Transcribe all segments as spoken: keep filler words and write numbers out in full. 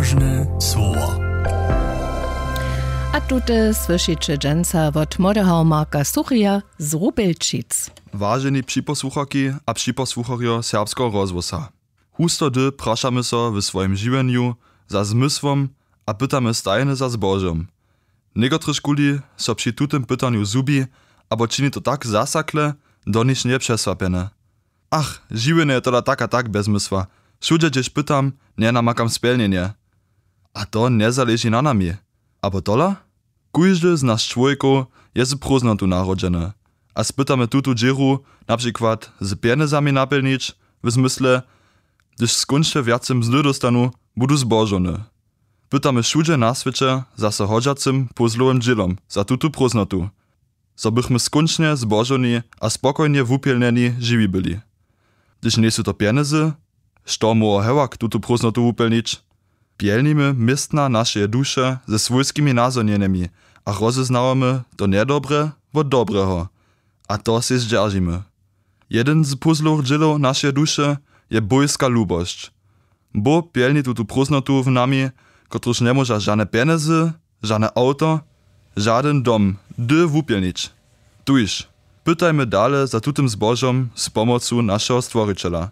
Słowo. A tute słyšiće dźensa wot młodeho Marka Suchija z Rubelčic. Waženi připosłucharki a připosłucharjo Serbskeho rozhłosa, husto hdy prašamy so w swojim žiwjenju za zmysłom a pytamy stajnje za zbožom. Někotryžkuli so při tutym pytanju zhubi abo čini to tak zasakle, do niž njepřesłapjene. Ach, žiwjenje je tola tak a tak bez zmysła. Wšudźe hdźež pytam, njenamakam spjelnjenje. A to njezaleži na nami. Abo tola? Kóždy z nas čłowjekow je z prózdnotu narodźeny. A spytamy tutu dźěru na přikład z pjenjezami napjelnić, w zmysle, hdyž skónčnje wjace mzdy dóstanu, budu zbožowny. Pytamy wšudźe na swěće zaso hodźacym pózlowym dźělom za tutu prózdnotu, zo bychmy skónčnje zbožowni a spokojnje wupjelnjeni žiwi byli. Hdyž njejsu to pjenjezy, što móhło hewak tutu prózdnotu wupjelnić? Pjelnimy městna našeje duše ze swójskimi nazhonjenjemi a rozeznawamy to njedobre wot dobreho. A to sej zdźeržimy. Jedyn z pózlowych dźělow našeje duše je bójska lubosć. Bóh pjelni tutu prózdnotu w nami, kotruž njemóža žane pjenjezy, žane awto, žadyn dom hdy wupjelnić. Tuž pytajmy dale za tutym zbožom z pomocu našeho Stworićela.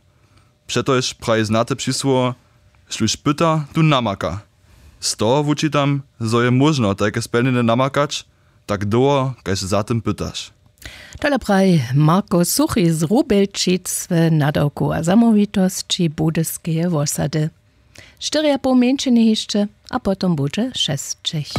Přetož praji znate přisłowo: Štóž pyta, tón namaka. Z toho wučitam, zo je móžno tajke spjelnjenje namakać, tak dołho kaž za tym pytaš. Tole praji Marko Suchi z Rubelčic w nadawku a zamołwitosći Budyskeje wosady. Štyri a poł mjeńšiny hišće a potom budźe šesćich.